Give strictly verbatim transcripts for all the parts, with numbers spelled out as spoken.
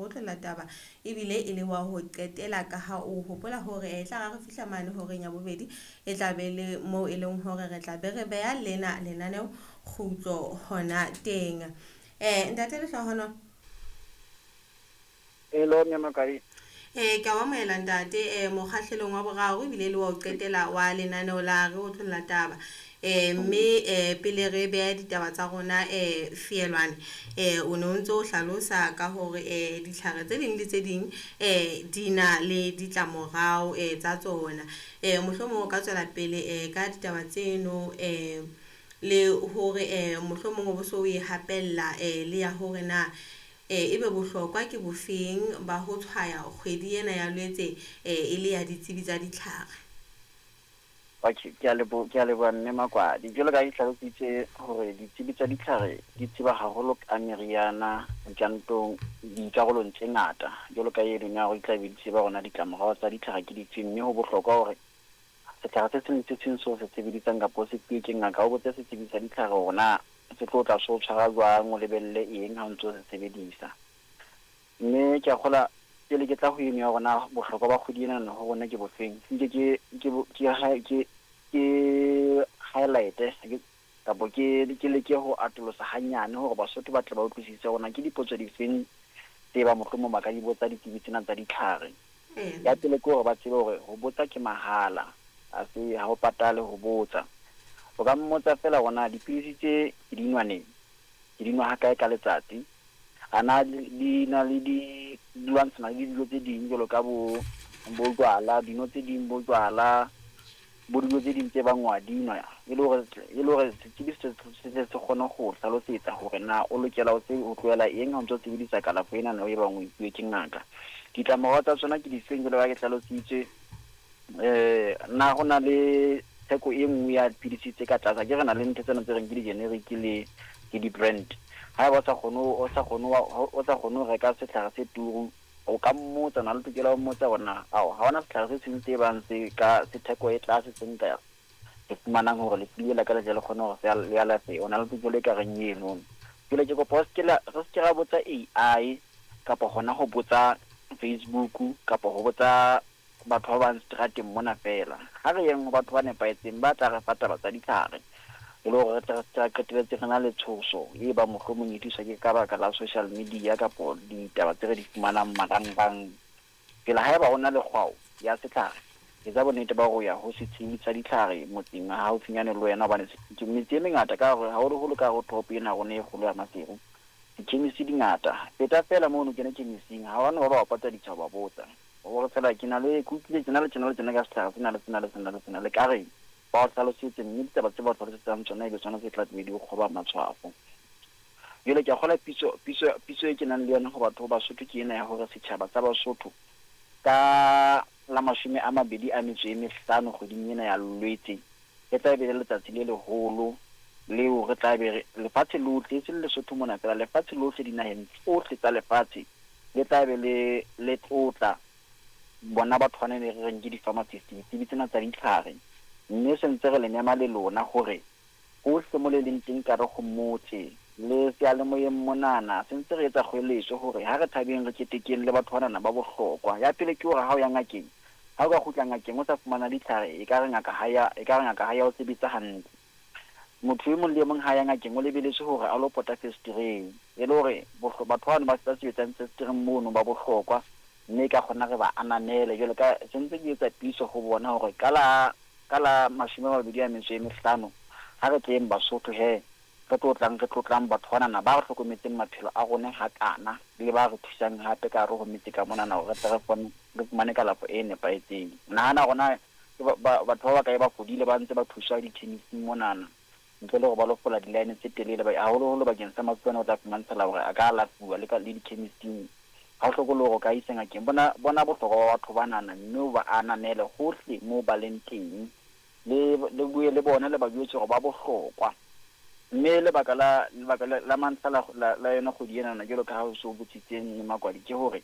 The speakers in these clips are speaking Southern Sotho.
Otlolla Taba, ebile e le wa ho qetela ka ha o hopola hore e tla re fihla mane horeng ya bobedi, e tla be le moo e leng hore re tla be re beha lena lenaneo kgutlo hona teng. Eh ntate Lehlohonolo. Hello, mme Makadi. Eh ke a o amohela ntate eh mokgahlelong wa boraro ebile le wa ho qetela wa lenaneo la Re Otlolla Taba. Eh mme eh pele re beha ditaba tsa rona eh feelwane, eh o ne o ntso o hlalosa ka hore eh ditlhare tse ding le tse ding eh di na le ditlamorao eh tsa tsona. Eh mohlomong o ka tswela pele eh ka ditaba tseno, eh le hore eh mohlomong o bo so o e hapella eh le ya hore na eh ebe bohlokwa ke bofeng ba ho tshwaya kgwedi ena ya Lwetse eh e le ya ditsebi tsa ditlhare. Okay, ke a lebo ke a leboha mme Makwadi. Jwalo ka ha ke hlalositse hore ditsebi tsa ditlhare di tseba haholo ka meriana dikantong dikarolong tse ngata. Jwalo ka eno ya hore di tla be di tseba hore na ditlamorao tsa ditlhare ke difeng, mme ho bohlokwa hore setlhare se seng le se seng seo se sebedisang kapa o se fuwe ke ngaka, o botse setsebi sa ditlhare hore na se tlo tla se o tshwara jwang, o lebelle eng ha o ntso se sebedisa. Mme ke a kgolwa pele ke tla ho eno ya hore na bohlokwa ba kgwedi ena ho rona ke bofeng, nke ke ke ke ke ke highlight-e kapa ke ke leke ho atolosa hanyane hore Basotho ba tle ba utlwisise hore na ke dipotso difeng tse ba mohlomong ba ka di botsa ditsebi tsena tsa ditlhare. Ya pele ke hore ba tsebe hore ho botsa ke mahala, ha se ha o patale ho botsa. O ka mmotsa feela hore na dipidisi tse ke di nwa neng, ke di nwa ha kae ka letsatsi, a na di na le di di lwantshana le dilo tse ding jwalo ka bo bo jwala, dino tse ding bo jwala, bo dilo tse ding tse bang wa di nwa, e le hore e le hore setsebi se se se kgone ho hlalosetsa hore na o lokela ho ho tlohela eng ha o ntso sebedisa kalafo ena e bang o e fuwe ke ngaka. Ditlamorao tsa tsona ke difeng jwalo ka ha ke hlalositse. Eh na ho na le theko e nngwe ya dipidisi tse ka tlase, akere re na le ntho tsena tse reng ke di-generic le le di-brand. Haeba o sa kgone o sa kgone o sa kgone ho reka setlhare se turu, o ka mmotsa, o na le tokelo ya ho mmotsa hore na ao ha hona setlhare se seng se bang se ka se theko e tlase se nka se fumanang hore lefu le la ka le tle le kgone hore se le alafehe. O na le tokelo e ka reng eno. Jwale ke kopa o se ke la re se ke ra botsa A I kapa hona ho botsa Facebook kapa ho botsa batho ba bang seterateng mona feela. Ha re yeng ho batho ba nepahetseng ba tla re fa taba tsa ditlhare, e le hore re tle re se ra qetelletse re na le tshoso e bang mohlomong e tliswa ke ka baka la social media kapo ditaba tse re di fumanang marangrang. Pele haeba ho na le kgwao ya setlhare, etsa bonnete ba hore o ya ho setsebi sa ditlhare motseng wa haufinyane le wena, hobane metse e mengata ka hare haholoholo ka hare ho toropo ena ya rona e kgolo ya Maseru, di-chemist di ngata. Feta feela mono o kene chemist-ing, ha hona ba ba patadisa ho ba botsa. Hore feela ke na le ke utlwile tjena le tjena le tjena ka setlhare sena le sena le sena le sena, le ka reng? Ba o hlalosetse, mme ditaba tse ba o hlalosetsang tsona ebe tsona tse tla tlabe di o kgoba matshwafo. Jwale ke a kgolwa pitso pitso pitso e ke nang le yona ho batho ba Basotho ke ena ya hore setjhaba sa Basotho ka la mashome a mabedi a metso e mehlano kgweding ena ya Lwetse, e tla be le letsatsi le leholo leo re tla be re lefatshe lohle, e seng Lesotho mona feela, lefatshe lohle dinaheng tsohle tsa lefatshe le tla be le le tlotla bona batho bana ne re reng ke di-pharmacist, ditsebi tsena tsa ditlhare. Mme se ntse re le mema le lona hore hohle mo le leng teng ka re ho motse le seyalemoyeng monana, se ntse re etsa kgoeletso hore ha re thabeng, re ketekeng le batho banana ba bohlokwa. Ya pele ke hore ha o ya ngakeng, ha o ka kgutla ngakeng o sa fumana ditlhare, e ka re ngaka ha ya e ka re ngaka ha ya o sebetsa hantle. Motho e mong le e mong ha ya ngakeng o lebelletswe hore a lo pota fesetereng, e le hore batho bano ba sebetsang fesetereng mono ba bohlokwa, mme ka kgona re ba ananele. Jwale ka se ntse ke etsa pitso ho bona hore ka la ka la mashome a mabedi a metso e mehlano ha re tleng Basotho he, re tlotlang re tlotlang batho banana ba re hlokometseng maphelo a rona hakana, le ba re thusang hape ka hare ho metse ka monana hore re tle re kgone re fumane kalafo e nepahetseng. Nahana hore na batho ba bakae ba fodile ba ntse ba thuswa di-chemist-ing monana ntle le hore ba lo fola di-line tse telele, haholoholo bakeng sa mafu ana o tla fumantshala hore a ka alafuwa le ka le di-chemist-ing. Ha o hloke le hore o ka isa ngakeng. Bona bona bohlokwa ba batho banana, mme o ba ananele hohle moo ba leng teng. Le le bue le bona, le ba jwetse hore ba bohlokwa. Mme lebaka la lebaka la, la mantlha la, la, la yona kgwedi enana jwalo ka ha o so botsitse mme Makwadi, ke hore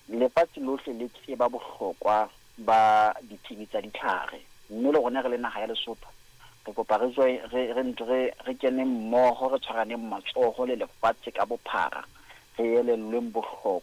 lefatshe lohle le tseba bohlokwa ba ditsebi tsa ditlhare, mme le rona re le naha ya Lesotho re kopa re join re re re re kene mmoho, re tshwaraneng matsoho le lefatshe ka bophara, re elellweng bohlokwa.